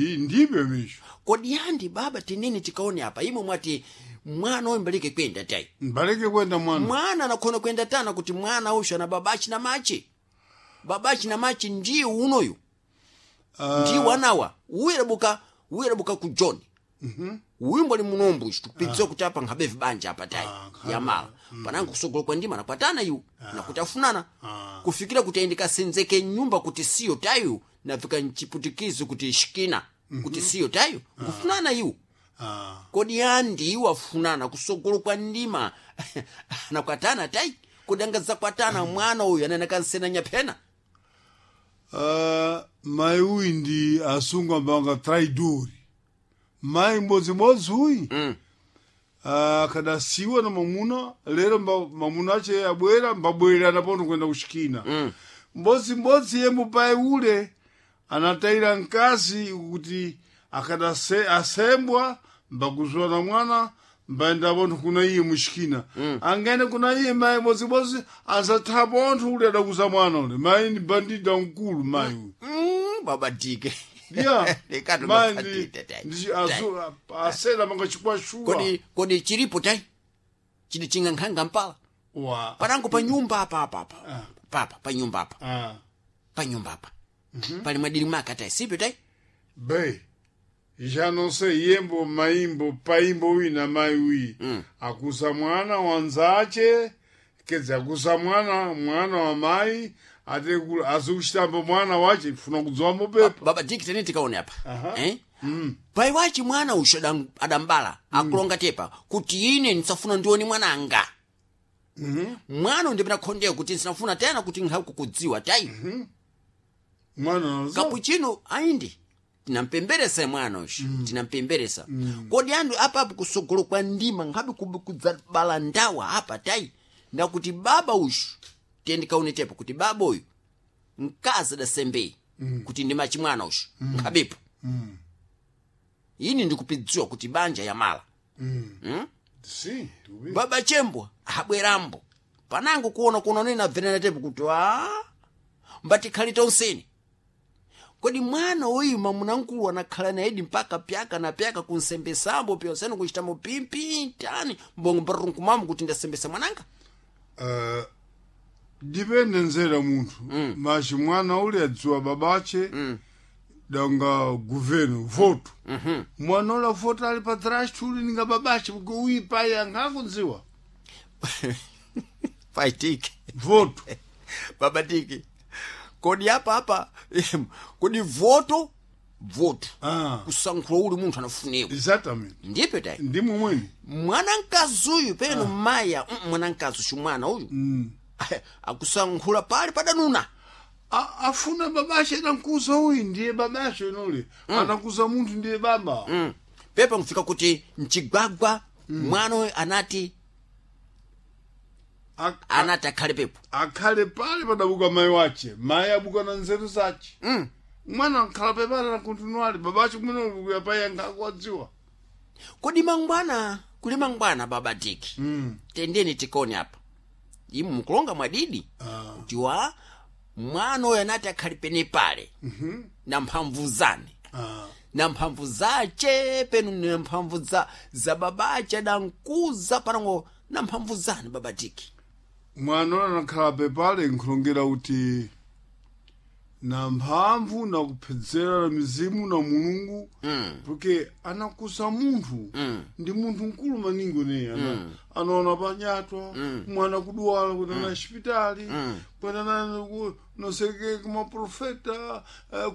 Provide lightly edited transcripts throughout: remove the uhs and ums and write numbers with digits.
Ndibyo misho. Kodi yandi baba tinene tikaone apa imwe mwati mwana uyu mbalike kwenda tai. Mbaleke kwenda mwana. Mwana anakhona kwenda tana kuti mwana usho ana babachi na machi. Babachi na machi ndiye unoyu. Ndiye wanawa. Uyu adabuka ku John. Uyu mbali munombo ichi tukupitsa kuti apa nkhabe vibanja apa tai. Yamala. Panango kusogolo kwa ndima nakwatana iwu. Nakuti afunana. Kufikira kuti ayende kasenzeke nyumba kuti siyo tayu nafika mchiputikizo kuti shikina. Kuti siyo tayu. Kufunana iwu. Kodi andi iwo afunana kusogolo kwa ndima anakwatana tai kodi angazakwatana mwana uyu anene kansena nyaphena. Mai uyu ndi asungu ambanga traidori. Mai mbodzimodzi uyu akadasiwa na mamuna lero mamuna ache abwera mbabwerera napono kwenda kushikina. Mbodzimbodzi ye mupai ule anatayira mkazi kuti akadase asembwa mbakuzuwa na mwana mbaenda pontho kuna iye mushikina. Angaende kuna iye mai mbodzimodzi azatha pontho ule adakuza mwana ule. Mai ndi bandida mkulu mai uyu. Baba dike. Yeah. Lekato Mai mapatite tai. ndi asela manga chikwashuwa. Kodi chilipo tai chili chingankhanga mpala Wa. panango pa nyumba apa apa apa papa pa nyumba apa pa nyumba apa pali mwadiri maka tai sipyo tai. Bem, já não sei yembo maimbo paimbo uyi na mai uyi. Akuza mwana wanzache, quer dizer, akuza mwana mwana wa mai ate azikuchitambo mwana wache funa kudziwa mopepa. Baba diki tene tikaone apa eh? Pai wachi mwana usho adambala akulonga tepa kuti ine ndisafuna ndione mwananga. Mwana ndipena khondeyo kuti ndisafuna tena kuti nkhakukudziwa tai. Mwana wazo. Kapuchino aindi tinampemberesa mwana usho. Tinampemberesa. Kodi andu apapo kusogolo kwa ndima nkhabe kudzabala ndawa apa tai ndakuti baba ushu tiye ndikaone tepa kuti baba uyu mkazi adasembei kuti ndimachi mwana ushu nkhabepo. Ini ndikupidziwa kuti banja yamala. Sim, tubi. Baba chembwa abwerambo panango kuona kuona nena abvenera tepo kuti a mbatikhali tonseni. Kodi mwana uyu mamunamkulu anakhala naidi mpaka pyaka na pyaka kunsembesambo pyonseni kuchitamo pimpi tani mbongo mbarunkumamo kuti ndasembesa mwananga. Dipende nzera munthu. Mas mwana ule adziwa babache danga governo voto. Mwana ule avota ali patrás tuli ninga babache porque uyi pai angakudziwa Paitike. voto. Baba tiki. Kodi apa apa kodi voto voto. Kusankhula uli munthu anafunewa. Exatamente. Ndipo tai. Ndi momweni. Mwana mkazi uyu peno maya mwana mkazi uyu mwana uyu. Akusankhula pali padanuna. Afuna babache anamkuza uyu ndiye babache nole. Anakuza munthu ndiye baba. Pepa nkufika kuti mchigwagwa mwana uyu anati anati akhale pepo. Akhale pale padabuka mai wache. Mai abuka na nzeru zache. Mwana akhala pepale na kontinuale babache kumene kuya pai angakuwadziwa. Kodi mangwana kuli mangwana baba tiki. Tendeni tikone apa. Imu mukulonga mwadidi. Kuti wa mwana uyu anati akhale pene pale. Na mphamvu zane. Na mphamvu zache penu na mphamvu za babache adankuza panango na mphamvu zane baba tiki. Mwana anakhala pepale nkhulongera kuti na mphamvu na kuphedzera na mizimu na mulungu porque anakuza munthu ndi munthu mkulu maningi ne anaona panyatwa mwana kuduwala kwenda na xipitali kwenda na noseke kumaprofeta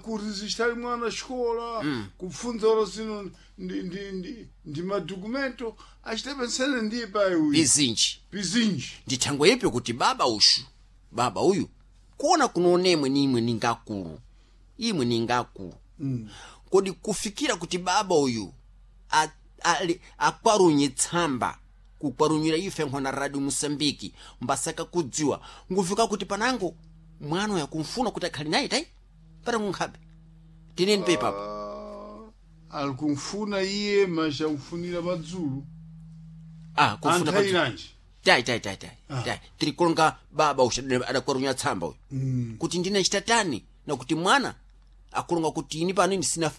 kurizistali mwana xikola kupfunza ora zino ndi madokumento achitapensene ndiye pai uyu Bizinji. bizinji Ndithango ipi kuti baba ushu baba uyu kuona kunonemwe nimwe ningakulu imwe ningakulu. Kodi kufikira kuti baba uyu akwarunye tsamba kukwarunyira ife nkhona radio Mosambiki mbasaka kudziwa ngufika kuti panango mwana uyu akumfuna kuti akhale naye tai panango nkhabe tineni pepa apa. Alikumfuna iye mas akufunira padzulu. Kufuna padzulu. Anthairanji. Tai tai tai tai. Tai tirikulonga baba usha adakwarunya tsamba uyu. Kuti ndine chitatani na kuti mwana akulonga kuti ini pano ini sina